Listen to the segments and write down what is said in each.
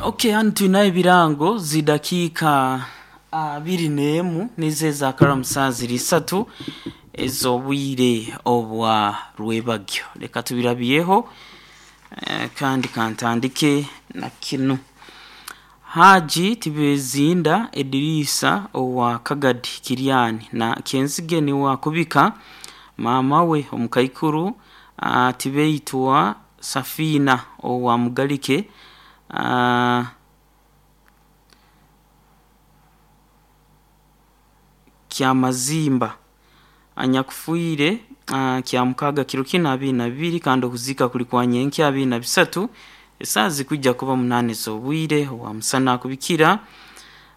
Ok hanu twine ebirango zidakiika 21 nizo ezakaramu saaha ziri isatu ez'obwire obwa rwebagyo. Leka tubirabyeho kandi kantandike na kinu. Haji Tibezinda Edirisa owa Kagadi Kiriani na Kyenzige niwe akubika maama we omukaikuru Tibeitwa Safina owa Mugalike Kyamazimba anyakufiire Kyamukaaga kiro kinu 22 kandi okuziika kuri kwa nyenkya 23 esaaha zirikwija kuba munaana ez'obwire owa musana akubikira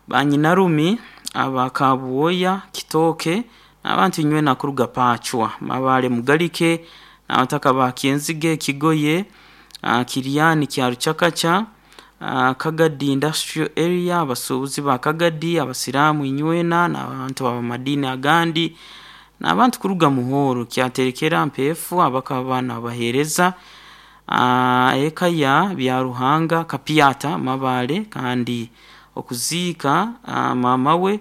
banyinarumi aba Kabwoya Kitooke n'abantu inywena kuruga Pacwa, Mabale Mugalike n'abataka ba Kyenzige Kigoye Kiriani Kyarukyakakya Kagadi Industrial Area abasuubuzi ba Kagadi, abasiraamu inywena n'abantu ab'amadiini agandi n'abantu kuruga Muhoro Kyaterekera Mpeefu abakaba nabaheereza eka ya Byaruhanga Kapyata Mabale kandi okuziika maama we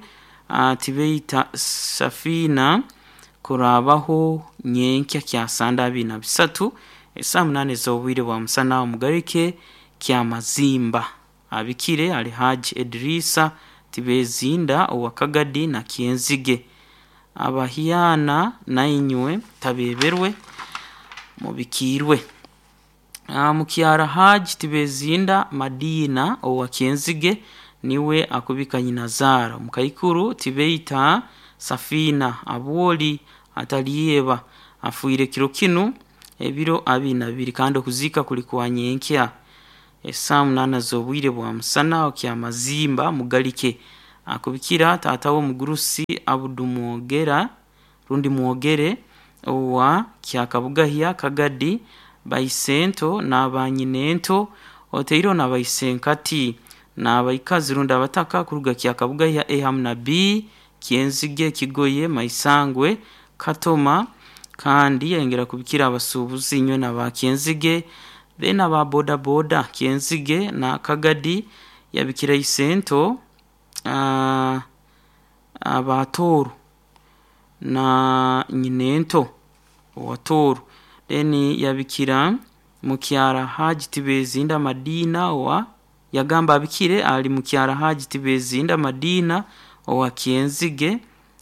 Tibeita Safina kuraabaho nyenkya Kyasande 23 esaaha munaana ez'obwire bwa musana Omugarike Kyamazimba abikire ali Haji Edirisa Tibezinda owa Kagadi na Kyenzige. Abahyana nainywe tabeeberwe mubikiirwe. Mukyara Haji Tibezinda Madina owa Kyenzige niwe akubika nyinazaara. Omukaikuru Tibeita Safina Abwoli Atalyeba afiire kiro kinu ebiro 22 kandi okuziika kuri kwa nyenkya esaaha munaana z'obwire bwa musana Kyamazimba Mugalike. Akubikira taata we omugurusi Abudu Mwogera rundi Mwogere owa Kyakabugahya Kagadi baisento n'abanyinento oteireho na baisenkati n'abaikazi rundi abataka kuruga Kyakabugahya A hamu na B Kyenzige Kigoye Maisangwe Katoma kandi yayongera kubikira abasuubuzi inywena ba Kyenzige then aba boda boda Kyenzige na Kagadi yabikira isento aba Tooro na nyinento owa Tooro then yabikira mukyara Haji Tibezinda Madina owa yagamba abikire ali mukyara Haji Tibezinda Madina owa Kyenzige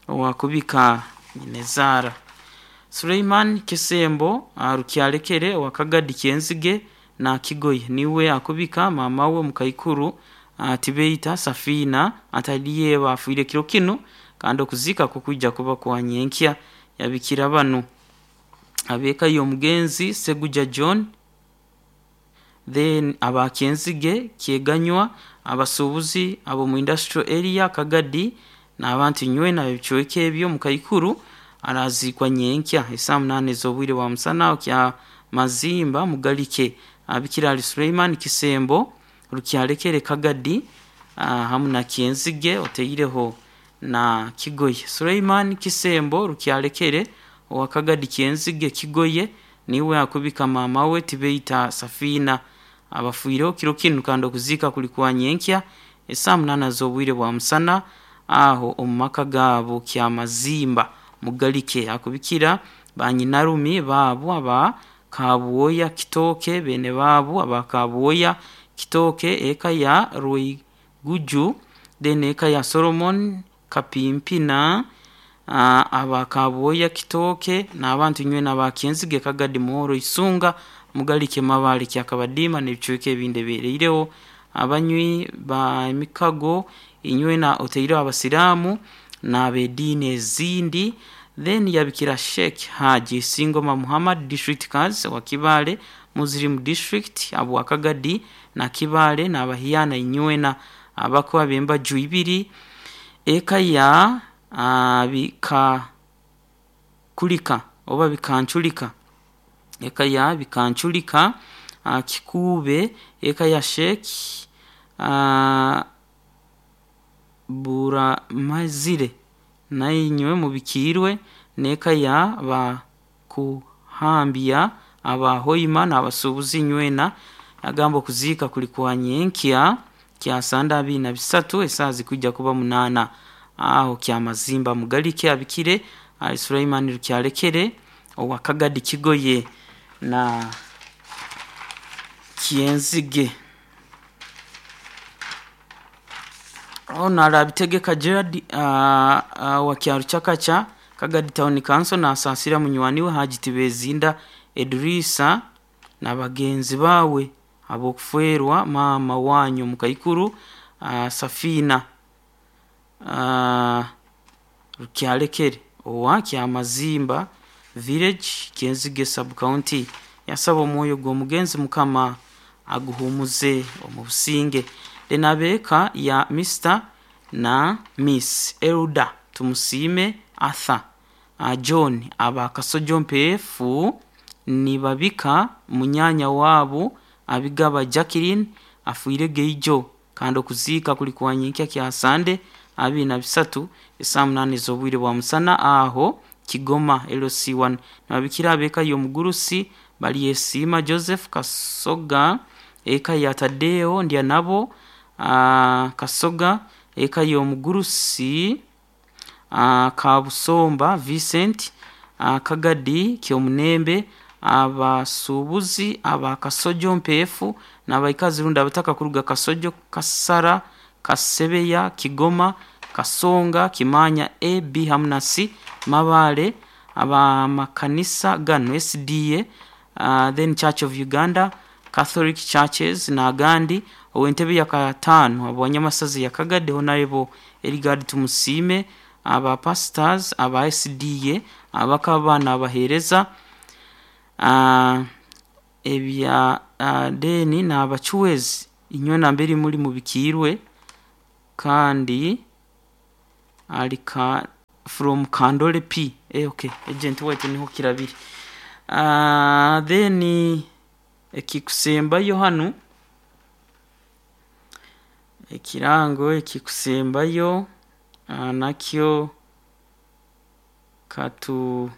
owakubika nyinazaara. Suleiman Kisembo Rukyalekere owa Kagadi Kyenzige na Kigoye niwe akubika maama we omukaikuru Tibeita Safina Atalyeba afiire kiro kinu kandi okuziika kukwija kuba kwa nyenkya yabikira banu ab'eka y'omugenzi Seguja John then aba Kyenzige Kyeganywa abasuubuzi ab'omu Industrial Area Kagadi n'abantu inywena ab'ebicweka ebyo omukaikuru araziikwa nyenkya esaaha munaana ez'obwire bwa musana Kyamazimba Mugalike abikira ali Suleiman Kisembo Rukyalekere Kagadi hamu na Kyenzige oteireho na Kigoye. Suleiman Kisembo Rukyalekere owa Kagadi Kyenzige Kigoye niwe akubika maama we Tibeita Safina abafiireho kiro kinu kandi okuziika kuri kwa nyenkya esaaha munaana z'obwire bwa musana aho omu maka gaabo Kyamazimba Mugalike akubikira banyinarumi baabo aba Kabwoya Kitooke beene baabo aba Kabwoya Kitooke eka ya Rweiguju then eka ya Solomon Kapimpina aba Kabwoya Kitooke n'abantu inywena aba Kyenzige Kagadi Muhoro Isunga Mugalike Mabale Kyakabadiima n'ebicweka ebindi ebihereireho abanywi ba emikago inywena oteireho abasiraamu n'ab'ediini ezindi then yabikira Sheikh Haji Singoma Muhammad District Council wa Kibaale Muslim District abwa Kagadi na Kibaale n'abahyana inywena abako ab'embaju ibiri eka ya Bikakulika oba Bikanculika eka ya Bikanculika Kikuube eka ya Sheikh Buramazire nainywe mubikiirwe n'eka ya Bakuhambya aba Hoima n'abasuubuzi inywena agamba okuziika kuri kwa nyenkya. Kyasande 23 esaaha zikwija kuba 8 aho Kyamazimba Mugalike abikire ali Sulaiman Rukyalekere owa Kagadi Kigoye na Kyenzige. Ono arabitegeka Gerard wa Kyaruchakacha Kagadi Town Council nasaasira munywani we Haji Tibezinda Edrisa na bagenzi bawe ab'okufeerwa maama wanyu mukaikuru Safina Rukyalekere owa Kyamazimba Village Kyenzige Sub County. Yasaba omwoyo gw'omugenzi Mukama aguhumuze omu businge. Then abeeka ya Mr na Miss Elda Tumusiime Arthur John aba Kasojo Mpeefu nibabika munyanya waabo Abigaba Jacqueline afiire geijo kandi okuziika kuli kwa nyenkya Kyasande 23 esaaha 8 ez'obwire bwa musana aho Kigoma LC1. Nibabikira abeeka y'omugurusi Balyesiima Joseph Kasoga eka ya Tadeo Ndyanabo Kasoga eka y'omugurusi Kabusomba Vincent Kagadi Kyomunembe abasuubuzi aba Kasojo Mpeefu n'abaikazi rundi abataka kuruga Kasojo Kasara Kasebeya Kigoma Kasonga Kimanya A B hamu na C Mabale abamakanisa gano SDA then Church of Uganda Catholic Churches n'agandi. Ow'entebe ya kataano abanyamasazi ya Kagadi Honorable Eligard Tumusiime aba pastors aba SDA abakaba n'abaheereza ebya deni n'abacuwezi inywe nambere muri mubikiirwe kandi ali ka from Kandole P. Okay, agent wetu niho kirabiri. Then ekikusembayo hanu ekirango ekikusembayo nakyo katu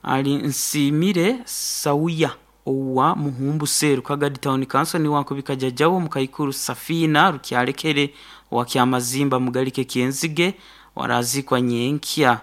ali Nsiimire Sauya owa Muhumbu Seru Kagadi Town Council ni wankubika jajjawo mukaikuru Safina Rukyalekere owa Kyamazimba Mugalike Kyenzige warazikwa nyenkya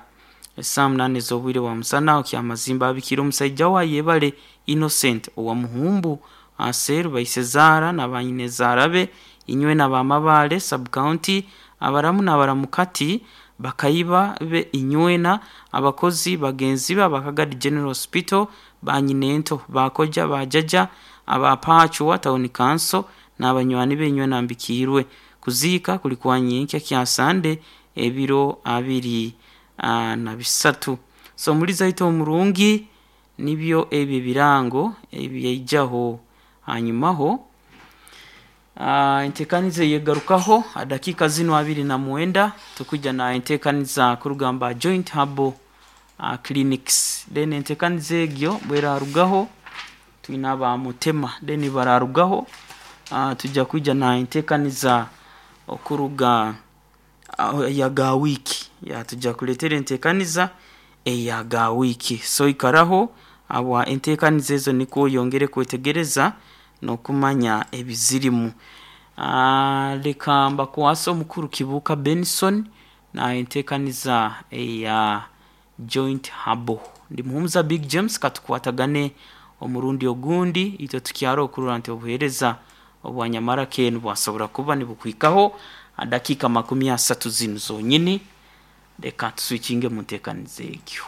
esaaha 8 ez'obwire bwa musana. Kyamazimba abikira omusaija wa Yebale Innocent owa Muhumbu Aseru baise zaara na banyinezaara be inywe na bamabale sub county abaramu n'abaramukati bakayiba be inywena abakozi bagenzi be abakagadi General Hospital banyinento bakoja bajaja abapachwa Town Council n'abanywani be inywena mbikiirwe. Kuziika kuli kwa nyenkya Kyasande ebiro 23. So muri zaito omurungi nibyo ebyo ebirango ebyaijaho hanyumaho enteekaniza eyegarukaho dakika zino 29 tukujja na enteekaniza kurugamba Joint Herbal Clinics. Then enteekaniza egyo bwerarugaho twine abamutema then bararugaho tujja kwija na enteekaniza okuruga ya ga wiki tujja kuleetera enteekaniza eya ga wiki. So ikaraho abwa enteekaniza ezo nikwo oyongere kwetegereza n'okumanya ebizirimu. Leka mbakwase omukuru Kibuuka Benson na enteekaniza eya Joint Herbal. Ndi Muhumuza Big James katukwatagane omurundi ogundi itwe tukyaro okurora nti obuheereza obwanyamara kenu bwasobora kuba nibukwikaho dakika 30 zinu zonyini. Leka tuswikinge mu nteekaniza egyo.